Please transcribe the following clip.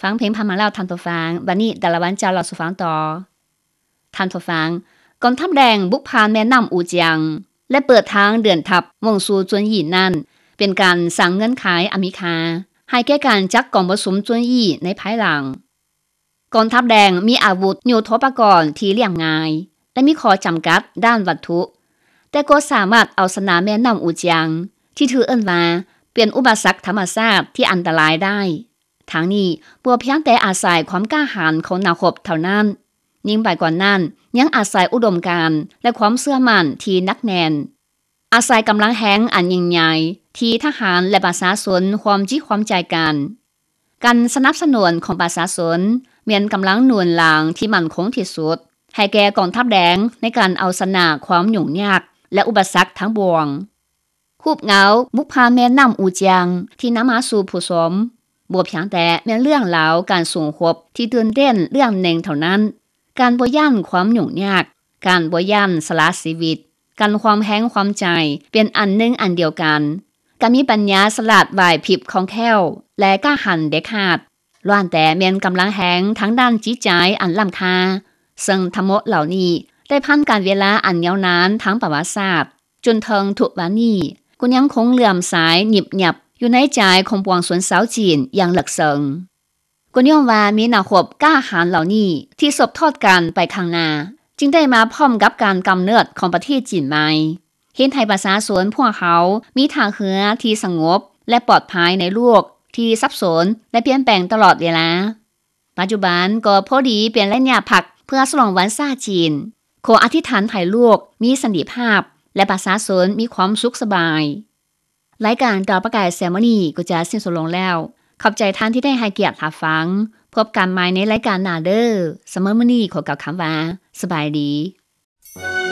ຟັງເພງຜ່ານມາແລ້ວທ່ານຜູ້ຟັງ, ບັດນີ້ດາລາວັນຈະເລົ່າສູ່ຟັງຕໍ່. ທ່ານຜູ້ຟັງ, ກອງທັບແດງບຸກຜ່ານແມ່ນ້ຳອູຈຽງ ແລະ ເປີດທາງເດີນທັບມຸ່ງສູ່ຈົນຫຢີນັ້ນ ເປັນການສ້າງເງື່ອນໄຂອັນມີຄ່າໃຫ້ແກ່ການຈັດກອງປະຊຸມຈົນຫຢີໃນພາຍຫຼັງ. ກອງທັບແດງມີອາວຸດຍຸດໂທປະກອນທີ່ລຽບງ່າຍ ແລະ ມີຂໍ້ຈຳກັດດ້ານວັດຖຸ, ແຕ່ກໍສາມາດເອົາຊະນະແມ່ນ້ຳອູຈຽງ ທີ່ຖືກເອີ້ນວ່າເປັນອຸປະສັກທຳມະຊາດທີ່ອັນຕະລາຍໄດ້. ທັງນີ້ ບໍ່ພຽງແຕ່ອາໄສຄວາມກ້າຫານຂອງນັກຮົບເທົ່ານັ້ນ, ຍິ່ງໄປກວ່ານັ້ນ ຍັງອາໄສອຸດົມການ ແລະ ຄວາມເຊື່ອໝັ້ນທີ່ໜັກແໜ້ນ, ອາໄສກຳລັງແຮງອັນຍິ່ງໃຫຍ່ທີ່ທະຫານ ແລະ ປະຊາຊົນຮ່ວມຈິດຮ່ວມໃຈກັນ. ການສະໜັບສະໜູນຂອງປະຊາຊົນແມ່ນກຳລັງໜູນຫຼັງທີ່ໝັ້ນຄົງທີ່ສຸດ ໃຫ້ແກ່ກອງທັບແດງໃນການເອົາຊະນະຄວາມຫຍຸ້ງຍາກ ແລະ ອຸປະສັກທັງປວງ. ຮູບເງົາບຸກຜ່ານແມ່ນ້ຳອູຈຽງທີ່ນຳມາສູ່ຜູ້ຊົມ ບໍ່ພຽງແຕ່ແມ່ນເລື່ອງລາວການສູ້ຮົບທີ່ຕື່ນເຕັ້ນເລື່ອງໜຶ່ງເທົ່ານັ້ນ, ການບໍ່ຢ້ານຄວາມຫຍຸ້ງຍາກ, ການບໍ່ຢ້ານສະຫຼະຊີວິດ, ການຮ່ວມແຮງຮ່ວມໃຈເປັນອັນໜຶ່ງອັນດຽວກັນ, ການມີປັນຍາສະຫຼາດໄຫວພິບຄ່ອງແຄ້ວ ແລະ ກ້າຫານເດັດຂາດ ລ້ວນແຕ່ແມ່ນກຳລັງແຮງທາງດ້ານຈິດໃຈອັນລ້ຳຄ່າ, ເຊິ່ງທັງໝົດເຫຼົ່ານີ້ໄດ້ຜ່ານການເວລາອັນຍາວນານທາງປະຫວັດສາດ, ຈົນເຖິງທຸກວັນນີ້ກໍຍັງຄົງເຫຼື້ອມໃສຫຍິບຫຍັບຢູ່ໃນໃຈຂອງປວງຊົນຊາວຈີນຢ່າງເລິກເຊິ່ງ. ກໍຍ້ອນວ່າມີນັກຮົບກ້າຫານເຫຼົ່ານີ້ທີ່ສືບທອດກັນໄປຂ້າງໜ້າ, ຈຶ່ງໄດ້ມາພ້ອມກັບການກຳເນີດຂອງປະເທດຈີນໃໝ່, ເຮັດໃຫ້ປະຊາຊົນພວກເຮົາມີທ່າເຮືອທີ່ສະຫງົບ ແລະ ປອດໄພໃນໂລກທີ່ສັບສົນ ແລະ ປ່ຽນແປງຕະຫຼອດເວລາ. ປັດຈຸບັນກໍພໍດີເປັນໄລຍະພັກເພື່ອສະຫຼອງວັນຊາດຈີນ, ຂໍອະທິດຖານໃຫ້ໂລກມີສັນຕິພາບ ແລະ ປະຊາຊົນມີຄວາມສຸກສະບາຍ. ລາຍການຕາປະກາຍແຊມມື້ນີ້ກໍຈະສິ້ນສຸດລົງແລ້ວ. ຂອບໃຈທ່ານທີ່ໄດ້ໃຫ້ກຽດຮັບຟັງ. ພົບກັນໃໝ່ໃນລາຍການໜ້າເດີ້. ສຳລັບມື້ນີ້ຂໍກ່າວຄຳວ່າ ສະບາຍດີ.